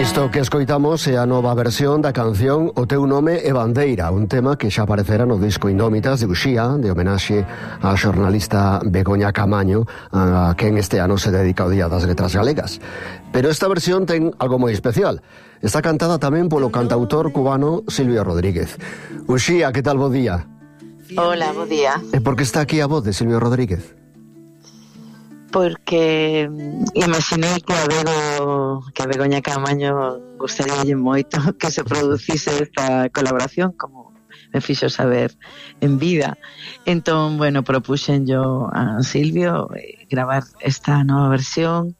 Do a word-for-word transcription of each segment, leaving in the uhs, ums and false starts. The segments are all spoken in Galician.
Isto que escoitamos é a nova versión da canción O teu nome é bandeira, un tema que xa aparecera no disco Indómitas de Uxía, de homenaxe á xornalista Begoña Camaño, a quen este ano se dedica ao Día das Letras Galegas. Pero esta versión ten algo moi especial. Está cantada tamén polo cantautor cubano Silvio Rodríguez. Uxía, que tal, bo día? Hola, bo día. E por que está aquí a voz de Silvio Rodríguez? Porque imaginei que a Bego, que a Begoña Camaño gustaríalle moito que se producise esta colaboración, como me fixo saber en vida. Entón, bueno, propuxen yo a Silvio eh, gravar esta nova versión.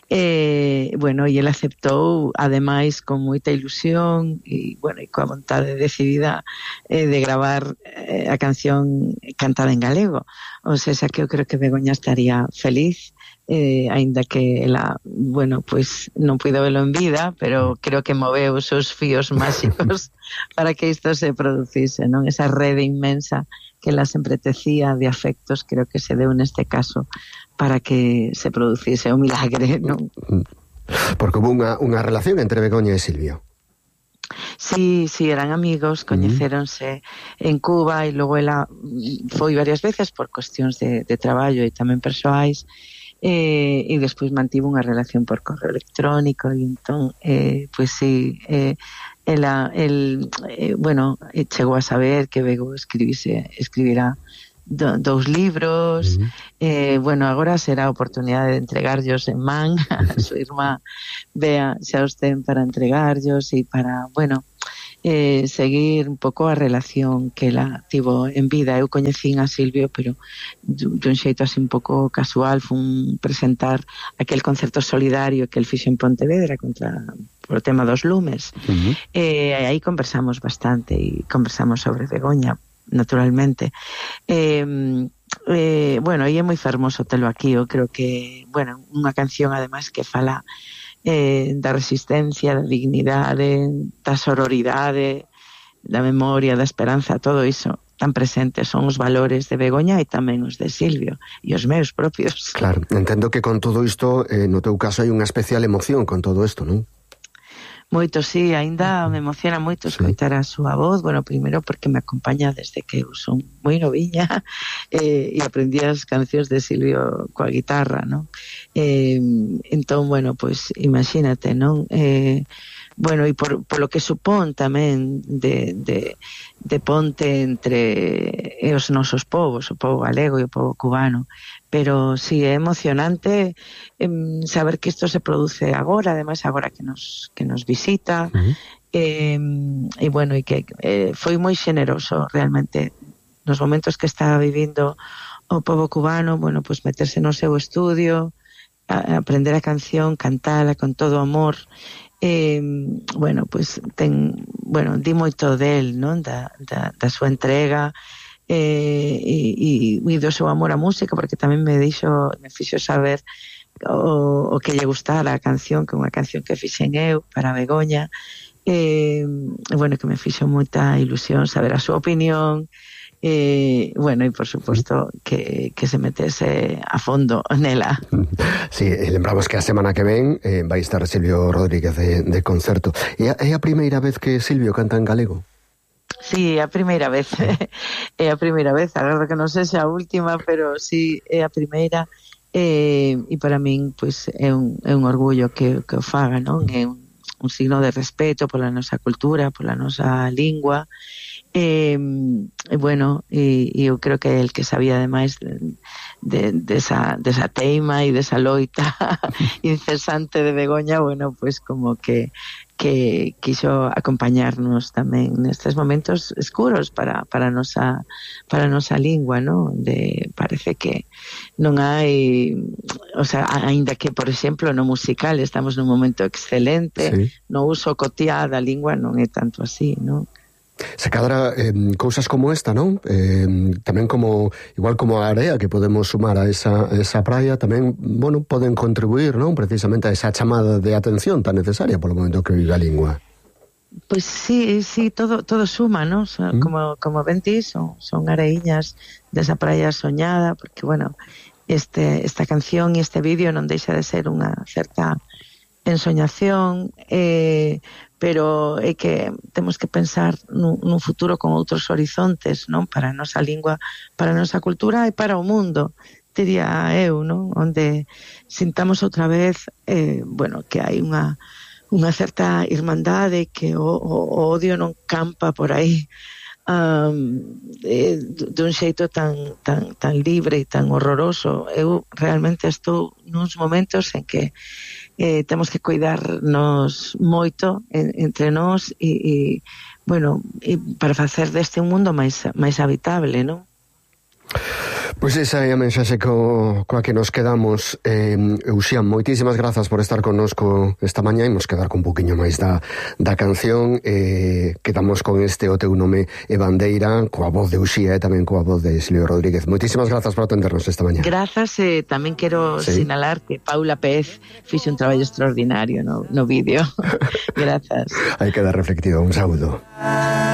Eh, bueno, e ele aceptou, ademais, con moita ilusión e, bueno, e coa vontade decidida eh, de gravar eh, a canción cantada en galego. O sea, que eu creo que Begoña estaría feliz, eh, aínda que ela, bueno, pois non puido velo en vida, pero creo que moveu os seus fíos máxicos para que isto se producise, non? Esa rede inmensa que ela sempre tecía de afectos, creo que se deu neste caso para que se producise un milagre, non? Porque hubo unha, unha relación entre Begoña e Silvio. Sí, sí, eran amigos, coñecéronse uh-huh. en Cuba e logo ela foi varias veces por cuestións de, de traballo e tamén persoais, eh, e despois mantivo unha relación por correo electrónico e entón, eh, pois sí, eh, ela, el, eh, bueno, chegou a saber que Bego escribise, escribirá do, dous libros, uh-huh. eh, bueno, agora será a oportunidade de entregarllos en man, a súa irmá Bea xa os ten para entregarllos e para, bueno, eh, seguir un pouco a relación que ela tivo en vida. Eu coñecín a Silvio, pero dun xeito así un pouco casual, fun presentar aquel concerto solidario que el fixo en Pontevedra contra por o tema dos lumes. Uh-huh. Eh, aí conversamos bastante e conversamos sobre Begoña, naturalmente. Eh, eh, bueno, e é moi fermoso telo aquí. Eu creo que, bueno, unha canción ademais que fala eh, da resistencia, da dignidade, da sororidade, da memoria, da esperanza, todo iso tan presentes son os valores de Begoña e tamén os de Silvio e os meus propios. Claro, entendo que con todo isto, eh, no teu caso hai unha especial emoción con todo isto, non? Moito, sí, aínda me emociona moito escoitar a súa voz, bueno, primeiro porque me acompaña desde que eu son moi noviña eh, e aprendí as cancións de Silvio coa guitarra, non? Eh, entón, bueno, pois imagínate, non? Eh, bueno, e por, por lo que supón tamén de, de, de ponte entre os nosos povos, o povo galego e o povo cubano. Pero sí, é emocionante eh, saber que isto se produce agora, ademais agora que nos que nos visita. Uh-huh. eh, e bueno, e que eh, foi moi xeneroso realmente nos momentos que estaba vivindo o povo cubano, bueno, pues meterse no seu estudio, a, a aprender a canción, cantala con todo amor. Eh, bueno, pues ten, bueno, di moito del, non? Da, da, da súa entrega, eh, e, e do seu amor á música, porque tamén me dixo, me fixo saber o, o que lle gustara a canción, que é unha canción que fixen eu para Begoña, eh, bueno, que me fixo moita ilusión saber a súa opinión. E, bueno, e por suposto que, que se metese a fondo nela. Sí, lembramos que a semana que ven eh, vai estar Silvio Rodríguez de, de concerto. É a, é a primeira vez que Silvio canta en galego? Sí, é a primeira vez. É a primeira vez, agora que non sei se a última, pero sí, é a primeira. E, e para min, pois, é un, é un orgullo que, que o faga, non? É un, un signo de respeto pola nosa cultura, pola nosa lingua. E, e bueno, e, e eu creo que el que sabía ademais de, de, de, esa, de esa teima e de esa loita incesante de Begoña, bueno, pues como que que quiso acompañarnos tamén nestes momentos escuros para para nosa para nosa lingua, ¿no? De parece que non hai, o sea, aínda que por exemplo no musical estamos nun momento excelente, sí. No uso cotiá da lingua non é tanto así, ¿no? Se cadra eh, cousas como esta, non? Eh, tamén como, igual como a area que podemos sumar a esa, a esa praia, tamén, bueno, poden contribuir, non? Precisamente a esa chamada de atención tan necesaria polo momento que vive a lingua. Pois pues sí, sí, todo todo suma, non? So, ¿Mm? Como, como ben ti, son, son areiñas desa praia soñada, porque, bueno, este, esta canción e este vídeo non deixa de ser unha certa ensoñación, eh, pero é que temos que pensar nun, nun futuro con outros horizontes, non? Para a nosa lingua, para a nosa cultura e para o mundo, diría eu, non? Onde sintamos outra vez, eh, bueno, que hai unha unha certa irmandade, que o, o, o odio non campa por aí um, eh, dun xeito tan, tan, tan libre e tan horroroso. Eu realmente estou nuns momentos en que eh, temos que cuidarnos moito en, entre nós e, e bueno, e para facer deste un mundo máis, máis habitable, non? Pois esa é a mensaxe co, coa que nos quedamos. eh, Uxía, moitísimas grazas por estar connosco esta mañá. Imos quedar con un poquinho máis da, da canción. eh, Quedamos con este O teu nome é bandeira, coa voz de Uxía e tamén coa voz de Silvio Rodríguez. Moitísimas grazas por atendernos esta mañá. Grazas, e eh, tamén quero sí. sinalar que Paula Pez fixe un traballo extraordinario no, no vídeo. Grazas. Aí queda reflectido. Un saúdo.